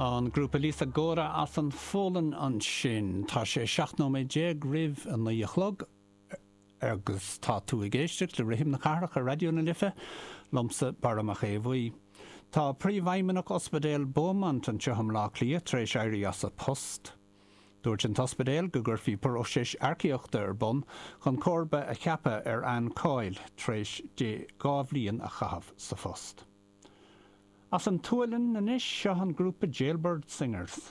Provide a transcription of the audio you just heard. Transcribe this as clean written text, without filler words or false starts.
An grúpa Lisa Gora as an Pholainn ansin. Tá sé 17 nóiméad roimh a 9 a chlog agus tá tú ag éisteacht le Rithim na Cathrach ar Raidió na Life, liomsa Barra Mac Aodha Bhuí. Tá Príomhfheidhmeannach Ospidéal Beaumont anseo i mBleá Cliath tar éis éirí as a post. Dúirt an t-ospidéal go gcuirfí próiseas earcaíochta ar bun chun comharba a cheapadh ar Anne Coyle tar éis di 2 bhliain a chaitheamh sa phost. As an tSualainn anois, seo an grúpa Jailbird Singers.